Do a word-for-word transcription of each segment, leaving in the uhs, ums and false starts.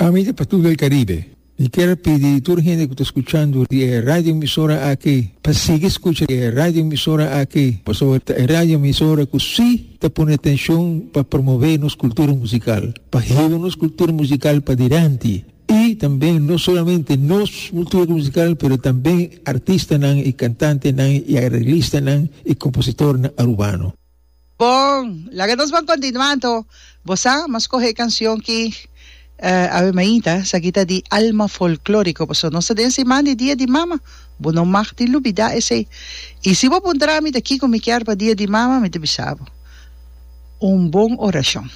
Ami ta Patu del Caribe. Mi kier pidi tur hende cu ta scuchando e radio emisora aki, pa sigui scucha e radio emisora aki, pasobra e radio emisora cu si ta pone atencion pa promove nos cultura musical, pa hiba nos cultura musical pa dilanti. Y tambe no solamente nos cultura musical, pero tambe artistanan y cantantenan y arreglistanan y compositornan arubano. Bon, laga nos ban continua anto. Bo sa, m'a scoge e cancion ki awe mainta, esaki ta di Alma Folklorico, pasobra nos ta den siman di Dia di Mama. Bo no mag di lubida esey. Y si bo puntra mi ta kico mi kier pa Dia di Mama, mi ta bisa bo, un bon oracion.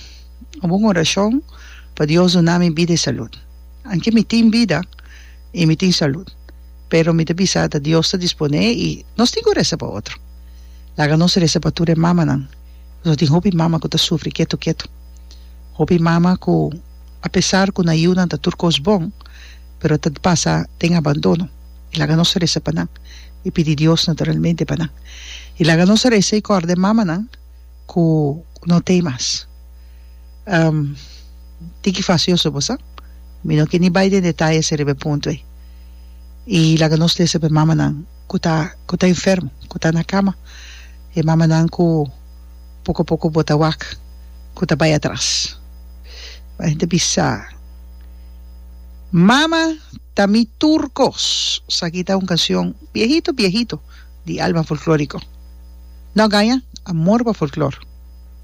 Un bon oracion pa Dios duna mi bida y salud. Anke mi tin bida y mi tin salud, pero mi ta bisa ta Dios ta dispone y nos tin cu reza pa otro. Laga nos reza pa tur e mamanan. Pasobra tin hopi mama ku ta sufri ketu ketu. Hopi mama ku apesar ku nan yunan ta tur kos bon, pero ta pasa den abandono. I laga nos reza pa nan i pidi Dios naturalmente pa nan. I laga nos reza i kòrda e mamanan ku no t'ei mas. Tiki fasioso bo sa. Mi no ke ni bai den detayes riba e punto ei. I laga nos lesa pa e mamanan ku ta ku ta enfermo, ku ta na kama, e mamanan ku poko poko bo ta wak ku ta bai atras. Bo ta bisa, Mama ta mi tur kos. Esaki ta un kanshon biehito biehito di Alma Folkloriko. No gaña, amor pa folklor.